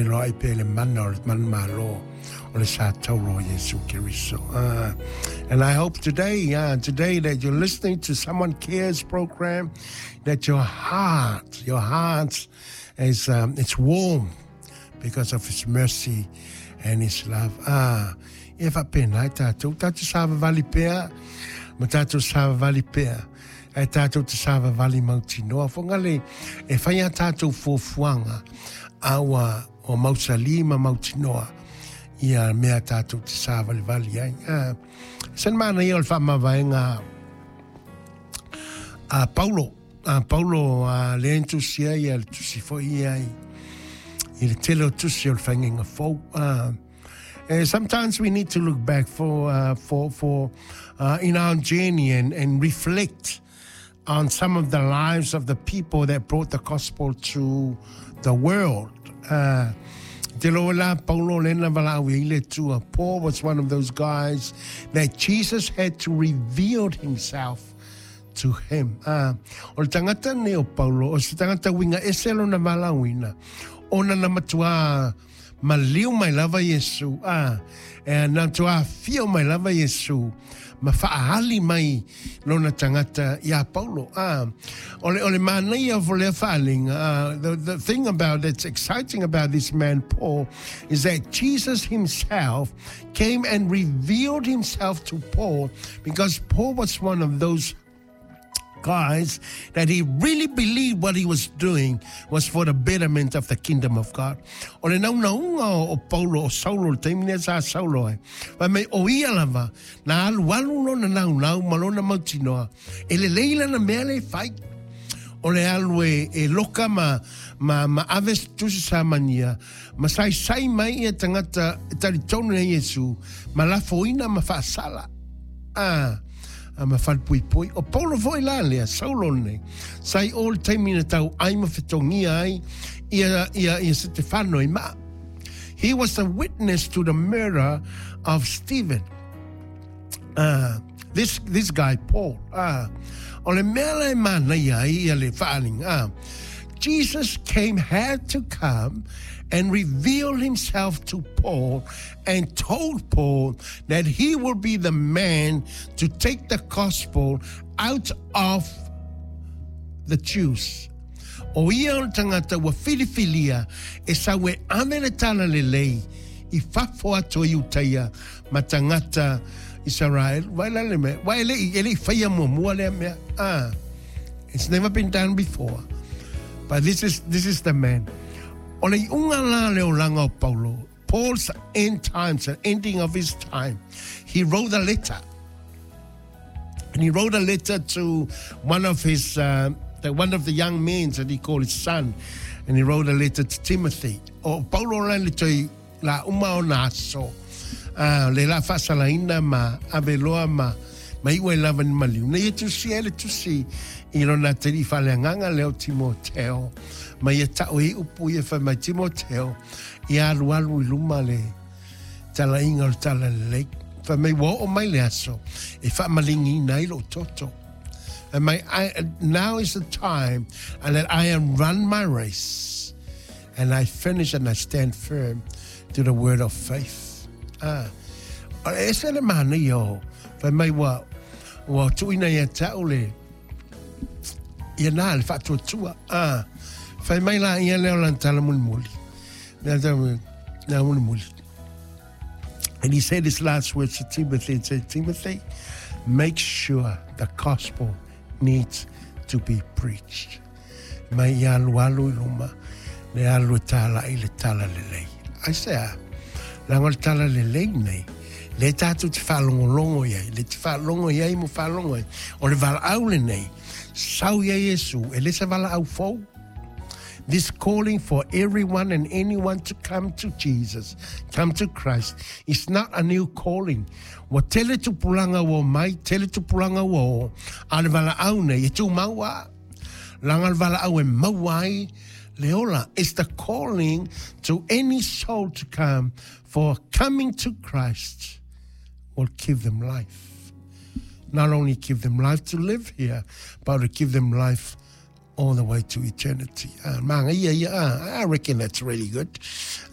feiloai pea i le mana o le manumalo o le sa tauro o Iesu Keriso. And I hope today, today that you're listening to Someone Cares program, that your heart is it's warm because of His mercy and His love. Ah, ia faapena ai tatou, tatou savavali pea, ma tatou savavali pea. E tatou te savavali mautinoa. Fogale e fai a tatou fuafuaga, a ua mausali ma mautinoa ia mea tatou te savalivali ai. Ah, se mana ia o le faamavaega a Paulo. A Paulo a le entusia ia le tusi foi ia i le tele o tusi o le faigaiga fou. Sometimes we need to look back for in our journey and reflect on some of the lives of the people that brought the gospel to the world. Te lo la Paulo lena valaau i le tua. Paul was one of those guys that Jesus had to reveal himself to him. O le tagata nei o Paulo, o se tagata uiga ese lona valaauina, ona na matua maliu mai lava Iesu, e na matua afio mai lava Iesu, ma faaali mai lona tagata ia Paulo. O le manaia o lea faaaliga, the thing about that's exciting about this man Paul is that Jesus himself came and revealed himself to Paul because Paul was one of those guys that he really believed what he was doing was for the betterment of the kingdom of God. O le naunauga o Paulo o Saulo le taimi lea sa Saulo ai. Fai mai o ia lava na alualu lona naunau ma lona mautinoa. E lelei lana mea le fai. O le alu e loka ma ave tusi samania ma saisai mai ia tagata e talitonu ia Iesu ma lafoina ma faasala. Ah, a ma falepuipui. O Paulo foi la lea, Saulo nei. Sai o le taimi na tauai ma fetogia ai ia Setefano i maa. He was a witness to the murder of Stephen. This guy, Paul. O le mea la e manaia ai ia le faaaliga. Jesus came, had to come and reveal himself to Paul and told Paul that he will be the man to take the gospel out of the Jews. O ia o le tagata ua filifilia e sau e ave le tala lelei i fafo atu o Iutaia ma tagata Israel. Vai la le mea. Vai e le i faia muamua lea mea. Ah, it's never been done before. But this is the man. O le iuga la le olaga o Paulo. Paul's end times, the ending of his time. He wrote a letter. And he wrote a letter to one of the young men that he called his son. And he wrote a letter to Timothy. O Paulo la le toi la uma o na aso. Le la faasalaina ma aveloa ma iu ai lava ni maliu. Na ia tusi e le tusi i lona tali faaleagaga lea o Timoteo. Ma ia tau i upu ia fai mai Timoteo. Ia alualu i luma le talaiga o le tala lelei. Fai mai ua oo mai le aso e faamaligiina ai lou toto. Fai mai, now is the time and that I am run my race and I finish and I stand firm to the word of faith. Ah, o le ese le manaia o. Fai mai ua tuuina ia te au le ia na le faatuatua. Ah, fai mai la ia lea o lana tala mulimuli. Lea tau, lea mulimuli. And he said his last words to Timothy and said, "Timothy, make sure the gospel needs to be preached." Mai ia alualu i luma, le alu e talai le tala lelei. Aisea, leaga o le tala lelei nei, le tatou te faalogologo i ai, le te faalogo i ai mo faalogo ai. O le valaau lenei, sau ia Iesu, e le se valaau fou. This calling for everyone and anyone to come to Jesus, come to Christ, is not a new calling. Ua tele tupulaga ua mai, tele tupulaga ua o, a le valaau nei, e tumau a. Leaga le valaau e maua ai le ola. It's the calling to any soul to come, for coming to Christ will give them life. Not only give them life to live here, but to give them life all the way to eternity. Manga ia ia, I reckon that's really good.